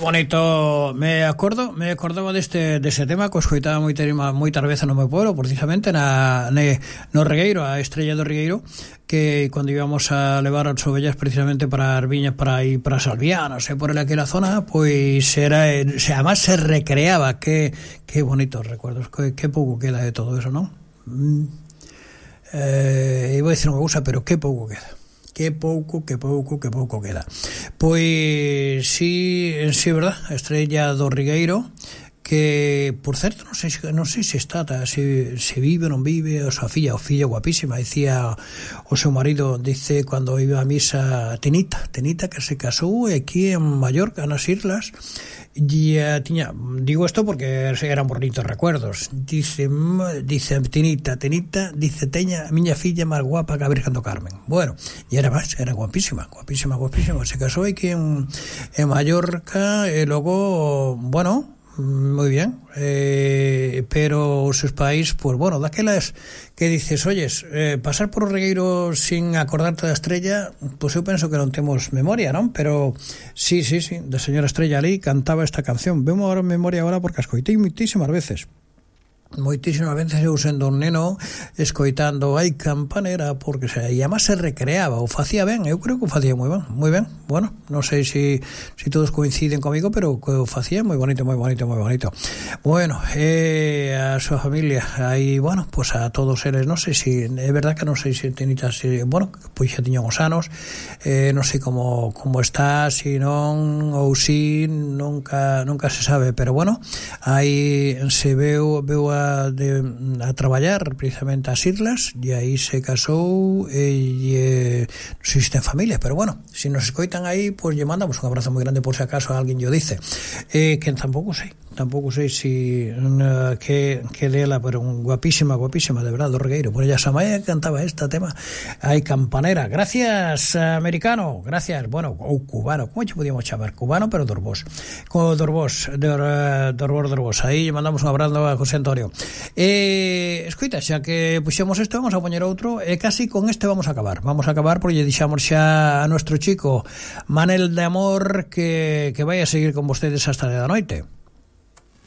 bonito. Me acordaba deste tema que escoitaba moitas veces no meu pueblo, precisamente no Regueiro, a Estrella do Regueiro, que cando íbamos a levar as ovellas precisamente para as viñas, para ir para Salvianos, por aquela zona, pois era, además se recreaba. Que bonitos recuerdos, que pouco queda de todo eso, non? Iba a decir unha cousa, pero que pouco queda. Que pouco queda. Pois sí, verdad, a Estrella do Regueiro, que, por certo, non sei se está, se vive ou non vive, a súa filla guapísima, dicía o seu marido, dice, cando iba a misa, Tinita, que se casou aquí en Mallorca, nas Islas, e digo isto porque eran bonitos recuerdos. Dice Tinita, dice, teña a miña filla máis guapa que a Virgen do Carmen. Bueno, e era guapísima, se casou aquí en Mallorca, e logo, bueno, moi bien, pero os seus pais, pues bueno, daquelas que dices, oyes, pasar por o Regueiro sin acordarte da Estrella, pues eu penso que non temos memoria, non? Pero sí, da señora Estrella ali cantaba esta canción. Vemo agora en memoria agora porque a escoitei moitísimas veces eu sendo un neno escoitando Ai Campanera, porque e además se recreaba, o facía ben, eu creo que o facía moi ben. Bueno, non sei se todos coinciden comigo, pero que o facía moi bonito. Bueno, a súa familia aí, bueno, pues a todos eles, non sei se é verdad que non sei se tenitas, bueno, pois xa tiñan os anos, non sei como está, se non ou si nunca se sabe, pero bueno, aí se veu a traballar precisamente ás Islas, e aí se casou, e non sei se ten familia, pero bueno, se nos escoitan aí, pois lle mandamos un abrazo moi grande por se acaso alguén lle dice, que tampouco sei si que dela, pero un guapísima de verdad, do Regueiro. Por ella Samaya cantaba este tema Ai Campanera. Gracias, americano, gracias, bueno, ou cubano, como che podíamos chamar, cubano, pero Dorbós, aí lle mandamos un abrazo a José Antonio. Escoita, xa que puxemos isto, vamos a poñer outro, e casi con este vamos a acabar porque lle dixamos xa a nuestro chico Manel de Amor que vai a seguir con vostedes hasta de da noite.